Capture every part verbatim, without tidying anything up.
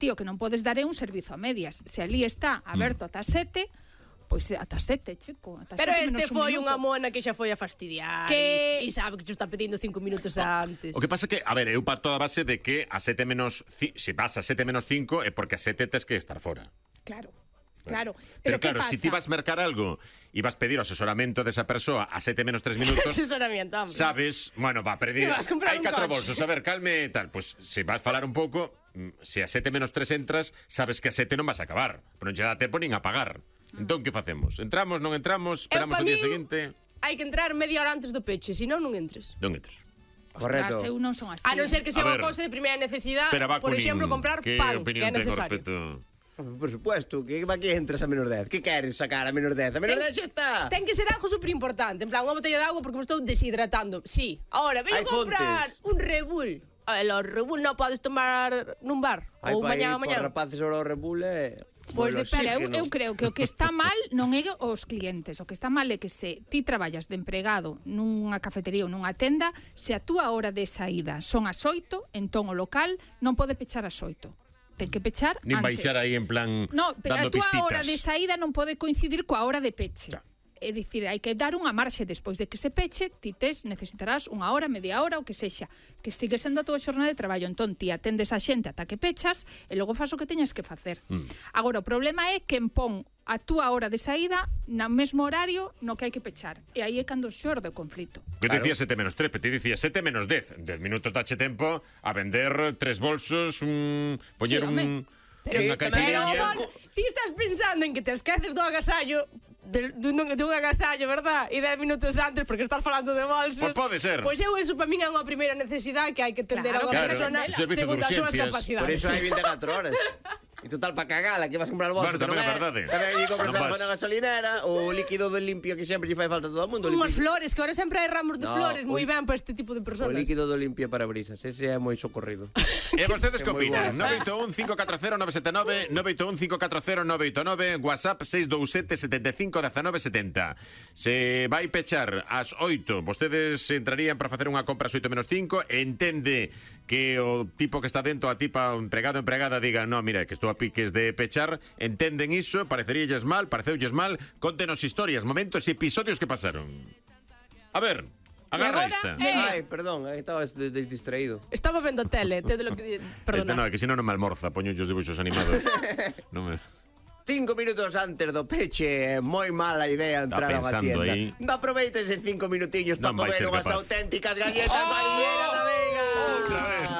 Tío, que non podes dar é un servizo a medias. Se ali está aberto ata sete, pois ata sete, chico. Ata Pero sete este foi un unha mona que xa foi a fastidiar que... e sabe que te está pedindo cinco minutos antes. O que pasa que, a ver, eu parto da base de que a sete menos... Se vas a sete menos cinco é porque a sete tes que estar fora. Claro. Claro, pero, pero claro, si ti vas mercar algo e vas pedir o asesoramento desa persoa a sete menos tres minutos, asesoramiento, hombre. Sabes, bueno, va a pedir, hai catro bolsos, a ver, calme tal, pues se vas falar un pouco, se a sete menos tres entras, sabes que a sete non vas a acabar, pero non che dá tempo nin a pagar. Entón, que facemos? Entramos, non entramos, esperamos o día seguinte? Hai que entrar media hora antes do peche, senón non entres. Non entres. Correcto. Eu non son así. A non ser que sea unha cousa de primeira necesidade, por exemplo, comprar pan, que é necesario. Por supuesto, que va que entras a menos dez. Que queres sacar a menos dez? A menos dez xa está. Ten que ser algo super importante. En plan, unha botella de agua porque me estou deshidratando. Sí. Ahora, veño a comprar un Red Bull. Los Red Bull non podes tomar nun bar. Ou mañá, mañá. Os rapaces ahora o Red Bull é... Pois depende, eu, eu creo que o que está mal non é os clientes. O que está mal é que se ti traballas de empregado nunha cafetería ou nunha tenda, se a túa hora de saída son as oito, entón o local non pode pechar as oito. Ten que pechar antes. Nin baixar aí en plan no, pero dando pistitas. A túa hora de saída non pode coincidir coa hora de peche. Ya. É dicir, hai que dar unha marxe despois de que se peche, ti tes, necesitarás unha hora, media hora, o que sexa, que sigue sendo a túa xornada de traballo. Entón, ti atendes a xente ata que pechas e logo faz o que teñas que facer. Mm. Agora, o problema é que pon a túa hora de saída no mesmo horario no que hai que pechar. E aí é cando xorde o conflito. Que te dicía sete menos tres, pero te dicía sete menos dez. dez minutos dache tempo a vender tres bolsos, un, poñer sí, un... Pero, pero ti estás pensando en que te esqueces do agasallo de, de, de un agasallo, verdad? E dez minutos antes porque estás falando de bolsos. Pois pode ser. Pois eu, eso para min é unha primeira necesidade que hai que tender claro, a unha claro, persona segundo as súas capacidades. Por eso hai vinte e catro horas. E total, para cagala, que vas a comprar bolsos. Bueno, tamén é verdade. Tamén hai que comprar na gasolinera, o líquido do limpio que sempre lle fai falta a todo o mundo. Unhas flores, que ahora sempre hai ramos de no, flores, moi ben para este tipo de personas. O líquido do limpio para brisas, ese é moi socorrido. E vostedes que opinan? nove oito un cinco catro cero nove sete nove, nove oito un cinco catro cero nove oito nove, WhatsApp seis dous sete sete cinco uno nove sete zero. Se vai pechar ás oito, vostedes entrarían para facer unha compra ás oito menos cinco, entende que o tipo que está dentro, a tipa, o empregado o empregada, diga, no, mira, que estou a piques de pechar, entenden iso, pareceríalles mal, pareceulles mal, contenos historias, momentos e episodios que pasaron. A ver, agarra esta. Eh. Ai, perdón, estaba distraído. Estaba vendo a tele, te de lo que... Perdona. Este no, que si non non me almorza, poño os dibuixos animados. Non me... Cinco minutos antes do peche, moi mala idea entrar a unha tienda. Aí... Aproveita eses cinco minutinhos para comer unhas capaz. auténticas galletas oh! mariñeiras da Veiga. Outra vez.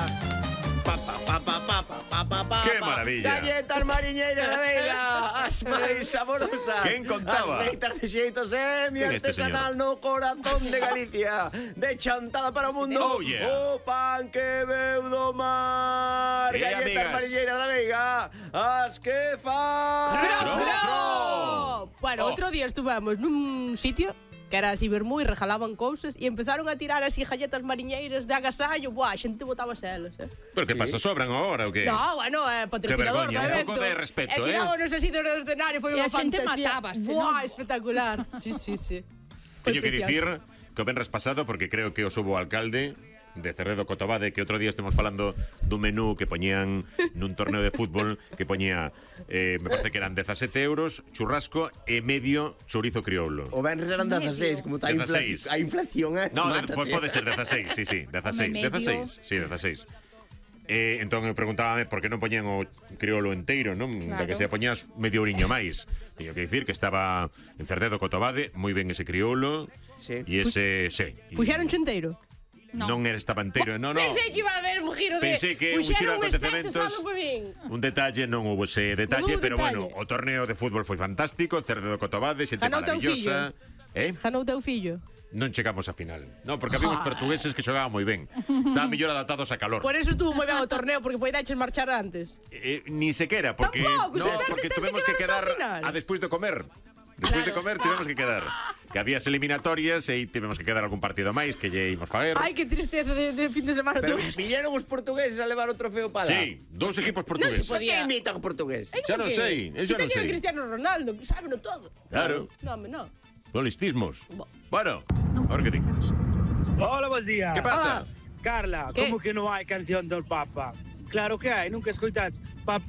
Pa, pa, pa, pa, pa, pa, pa, pa, ¡Qué maravilla! Galletas mariñeiras da Veiga, as máis saborosas. Quen contaba? As feitas de xeito semi artesanal no corazón de Galicia. De chantada para o mundo. Oh, yeah. O pan que veu do mar. Sí, galletas amigas. mariñeiras da Veiga, as que fan. ¡Cro, cro! Bueno, oh. outro día estuvemos nun sitio que era así vermú e regalaban cousas e empezaron a tirar así galletas mariñeiras de agasallo. Buah, a xente botaba elas, eh. Pero que pasa, sobran agora ou que? No, bueno, é eh, patrocinador do evento. Un pouco de respeto, eh. E tirábanos así do escenario, foi unha fantasía. E a xente matábase, Buah, espectacular. Sí, sí, sí. Teño que dicir que o venres pasado, porque creo que o subo o alcalde de Cerredo Cotobade, que outro día estemos falando dun menú que poñían nun torneo de fútbol, que poñía, eh, me parece que eran dezasete euros, churrasco e medio chourizo crioulo. O venres eran dezaseis, como está a, infla a inflación, eh? No, de, pode ser dezaseis, sí, sí, dezaseis, dezaseis, sí, dezaseis. Eh, entón eu preguntábame por que non poñían o crioulo enteiro, non? Claro. Da que se poñías medio oriño máis. Teño que dicir que estaba en Cerredo Cotobade, moi ben ese crioulo. Sí. E ese, sí. Puxeron enteiro? No. Non era estaba enteiro, no, no. Pensei que iba a haber un giro de... Pensei que un giro de acontecementos. Un detalle, non hubo ese detalle, pero detalle. Bueno, o torneo de fútbol foi fantástico, Cerredo Cotobade, xente maravillosa. Eh? Janou teu fillo? Non chegamos a final. No, porque había uns portugueses que xogaban moi ben. Estaban mellor adaptados a calor. Por eso estuvo moi ben o torneo, porque poidaches marchar antes. Eh, ni sequera, porque Tampouco, no, porque tuvemos que quedar a despois de comer. Despois de comer tivemos que quedar. Que habías eliminatorias e tivemos que quedar algún partido máis que lle imos faer. Ai, que tristeza de, de fin de semana. Pero viñeron os portugueses a levar o trofeo para lá. Sí, dous equipos portugueses. Non se podía. Que imitan o portugués? Xa non sei, eso non sei. Si Cristiano Ronaldo, que sábeno todo. Claro. No, me no. Polistismos. Bueno, a ver que dices. Hola, buen día. Que pasa? Carla, como que non hai canción do Papa? Claro que hai, nunca escoitats Papa